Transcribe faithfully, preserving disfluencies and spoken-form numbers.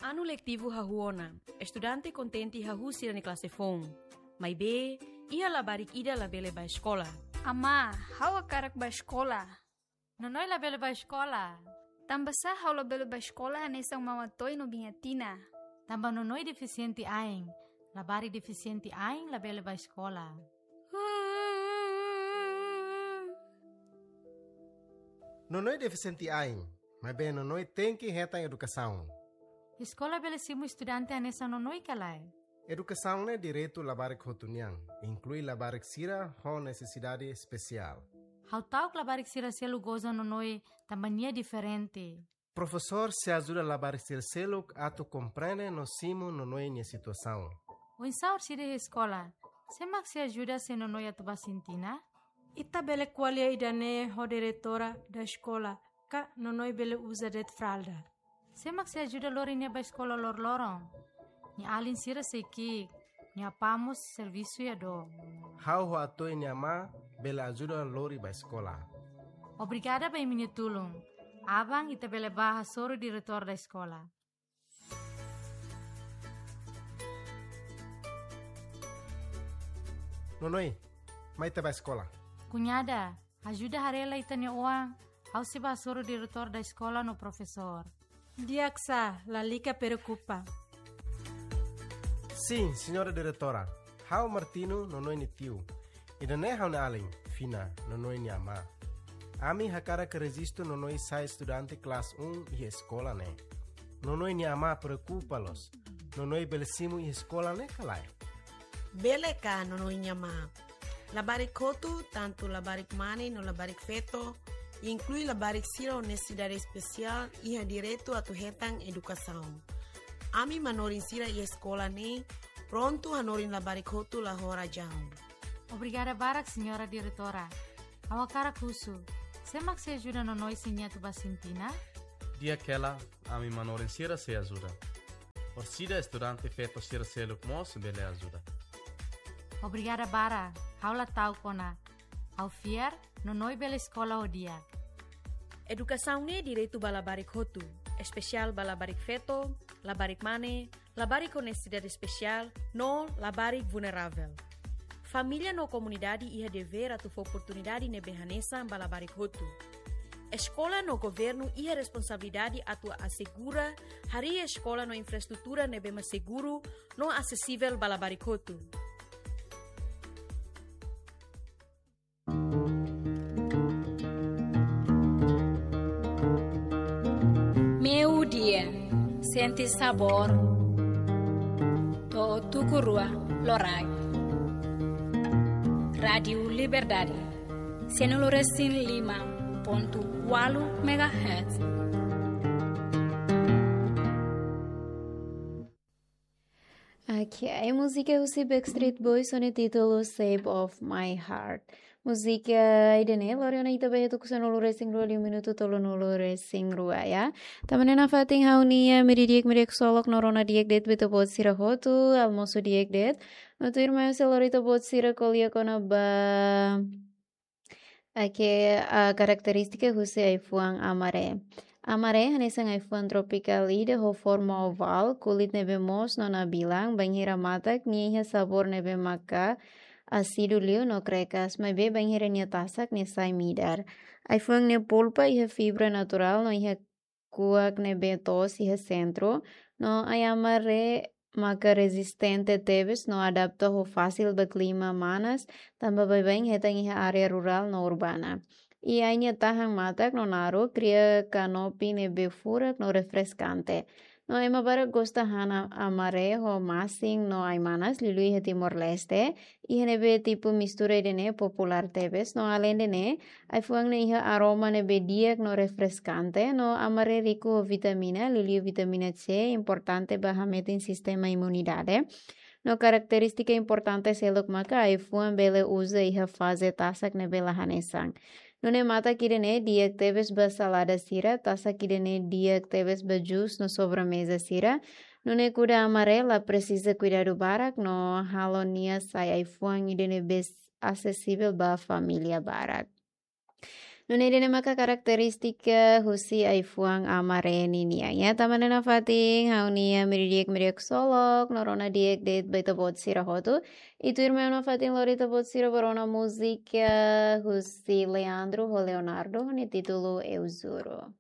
Anu letivu hahú ona, estudante kontente hahú sira-nia klase foun. Maibé, iha labarik ida labele bá eskola. Amá, ha'u hakarak bá eskola. Nonoi labele bá eskola. Tanbasá ha'u labele bá eskola hanesan Mama Toy no Biña Tina? Tanba Nonoi defisiente ain. Labarik defisiente ain labele bá eskola. Nonoi defisiente ain, maibé Nonoi tenke hetan edukasaun. Eskola bele simu estudante hanesan Nonoi ka lae? Edukasaun ne'e direitu labarik hotu nian, inklui labarik sira ho nesesidade espesiál. Ha'u ta'uk labarik sira seluk goza Nonoi tanba nia diferente. Profesór sei ajuda labarik sira seluk atu komprende no simu Nonoi nia situasaun. Oinsá orsida iha eskola, sé mak sei ajuda se Nonoi atu bá sintina? Ita bele ko'alia ida-ne'e ho diretora da eskola, ka Nonoi bele uza de'it fralda. Sé mak sei ajuda lori nia bá eskola loroloron? Nia alin sira sei ki'ik, nia apá mós servisu iha dook. Ha'u ho Atoy nia amá bele ajuda lori bá eskola. Obrigada ba imi-nia tulun. Aban ita bele bá hasoru diretór da eskola. Nonoi, mai ita bá eskola. Kuñada, ajuda haree lai ita-nia oan, ha'u sei bá hasoru diretór da eskola no profesór. Di'ak sá, lalika preokupa. Sin, señora diretora. Ha'u Martino, Nonoi nia tiu. Ida-ne'e ha'u-nia alin, Fina, Nonoi nia amá. Ami hakarak rejistu Nonoi sai estudante klase un iha eskola ne'e. Nonoi nia amá preokupa loos. Nonoi bele simu iha eskola ne'e ka lae? Bele ka, Nonoi nia amá. Labarik hotu, tantu labarik mane no labarik feto, inklui labarik sira ho nesesidade espesiál, iha direitu atu hetan edukasaun. Ami manorin sira iha eskola ne'e prontu hanorin labarik hotu la ho razaun. Obrigada barak, señora diretora. Ha'u hakarak husu, sé mak sei ajuda Nonoi se nia atu bá sintina? Di'ak hela, ami manorin sira sei ajuda. Orsida estudante feto sira seluk mós bele ajuda. Obrigada barak, ha'u la ta'uk ona. Ha'u fiar, Nonoi bele eskola ho di'ak. Edukasaun ne'e direitu ba labarik hotu, espesiál ba labarik feto, labarik mane, labarik ho nesesidade espesiál, no labarik vulneravel. Família no komunidade iha devér atu fó oportunidade ne'ebé hanesan ba labarik hotu. Eskola no governu iha responsabilidade atu asegura harii eskola no infraestrutura ne'ebé mak seguru no asesivel ba labarik hotu. Meiudia, sente sabór to'o tuku rua loraik. Rádiu Liberdade, sanulu resin lima pontu ualu megahertz. Oke, múzika husi Backstreet Boys ho nia títulu Shape of My Heart. Múzika ida-ne'e lori ona ita ba iha tuku sanulu resin rua liu minutu tolunulu resin rua, ya. Tanba ne'e nafatin ha'u-nia meiudia di'ak, meiudia ksolok no rona di'ak de'it ba ita-boot sira hotu, almosu di'ak de'it. No tuirmai ha'u sei lori ita-boot sira ko'alia kona-ba, oke, ah, karakterístika husi ai-fuan amaré. Amaré hanesan ai-fuan tropikál ida ho forma ovál, kulit ne'ebé moos no nabilan, bainhira matak nia iha sabór ne'ebé maka ásidu liu no krekas, maibé bainhira nia tasak nia sai midar. Ai-fuan nia polpa iha fibra naturál no iha kuak ne'ebé toos iha sentru, no ai amaré maka rezistente tebes no adapta ho fasil ba klima manas, tanba baibain hetan iha área rurál no urbana. I ai nia tahan matak no naruk kria kanopi ne'ebé furak no refreskante. No ema barak gosta han amaré ho masin no ai-manas liuliu iha Timor-Leste, iha ne'ebé tipu mistura ida-ne'e populár tebes, no aleinde ne'e, ai-fuan ne'e iha aroma ne'ebé di'ak no refreskante, no amaré riku ho vitamina, liuliu vitamina C, importante ba hametin sistema imunidade. No karakterístika importante seluk maka ai-fuan bele uza iha faze tasak ne'ebé la hanesan. Nune'e matak ida-ne'e di'ak tebes ba salada sira, tasak ida-ne'e di'ak tebes ba jus no sobremeza sira. Nune'e kuda amaré la presiza kuidadu barak no halo nia sai ai-fuan ida ne'ebé asesivel ba família barak. Nune'e ida-ne'e maka karakterístika husi ai-fuan Amareni nian. Ya, tama ona nafatin ha'u-nia miri di'ak, miri di'ak ksolok, no rona di'ak de'it ba ita-boot sira hotu. I tuirmai nafatin lori ita-boot sira ba rona múzika husi Leandro ho Leonardo, nia títulu Eu Juro.